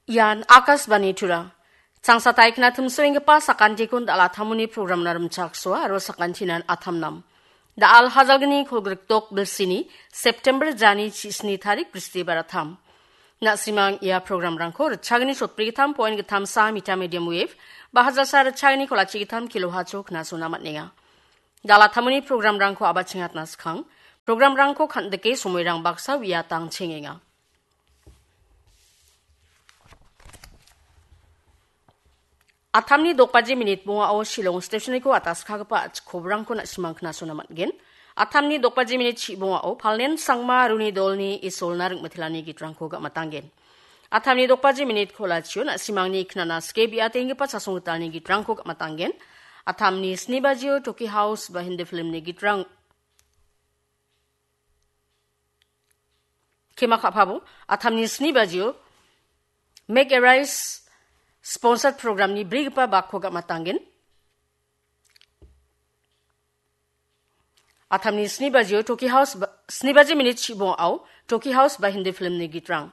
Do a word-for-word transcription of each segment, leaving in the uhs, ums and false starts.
Ian Akashvani Tura. Changsa taikna timsoenggipa sakantikon dal·a tamuni programna rimchaksoa aro sakantinan atamnam. Dal hajalgni kolgrikdok bilsini September jani chisni tarik Bristibar atam. Na·simang ia programrangko ritchagni sotbrigittam point gittam sa mita medium wave, ba hajalsa ritchagni kolachi gittam kilohertz-o knasona man·enga. Dal·a tamuni programrangko abachengatna skang, programrangko kan·dike somoirang baksa uiatang chengenga. Atamni dokbaji minit bongao Shillong stationiko ataskagipa a·chik kobrangko na·simang knasona man·gen. Atamni dokbaji minit chi bongao Palnen Sangma Runi Dolni Isolna ringmitelani gitrangko gam·atanggen. Atamni dokbaji minit kolachio na·simangni knana sike biatenggipa chasonggitalni gitrangko gam·atanggen. Atamni sni bajio Toki House ba Hindi filmni gitrang Kema ka·pabo, atamni sni bajio Make a Rise sponsored programni brigipa bakko gam·atanggen. Atamni sni bajio Toki House ba, sni baji minit chibongao Toki House ba Hindi filmni gitrang.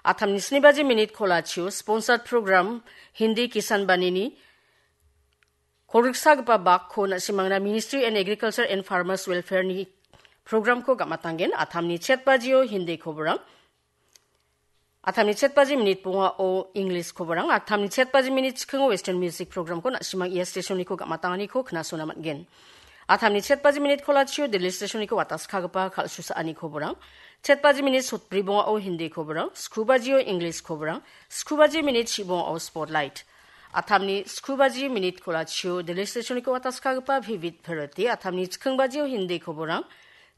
Atamni sni baji minit kolachio sponsored program Hindi Kisan Banini kolgriksagipa bakko na·simangna Ministry and Agriculture and Farmers Welfare-ni programko gam·atanggen. Atamni chet bajio Hindi koborang. Atamni chet baji minit bongao English koborang. Atamni chet baji minit chikingo Western music programko na·simang ia stationiko gam·atanganiko knasona man·gen. Atamni chet baji minit kolachio Delhi stationiko wataskagipa kal·susaani koborang. Chet baji minit sotbri bongao Hindi koborang. Sku bajio English koborang. Sku baji minit chi bongao Spotlight. Atamni sku baji minit kolachio Delhi stationiko wataskagipa Vivid Bharati. Atamni chiking bajio Hindi koborang.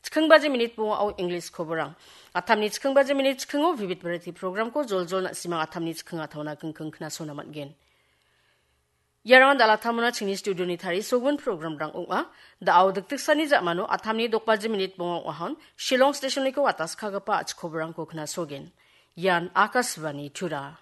Chiking baji minit bongao English koborang. Atamni chiking baji minit chikingo Vivid Bharati programko joljol na·simang atamni chiking a·taona kingking knasona man·gen. Iarangan dal·a tamona chingni studioni tarisogimin programrang ong·a. Da·o dikdiksani ja·mano atamni dokbaji minit bonga ong·ahon Shillong stationiko wataskagipa a·chik koborangko knasogen. Ian Akashvani Tura.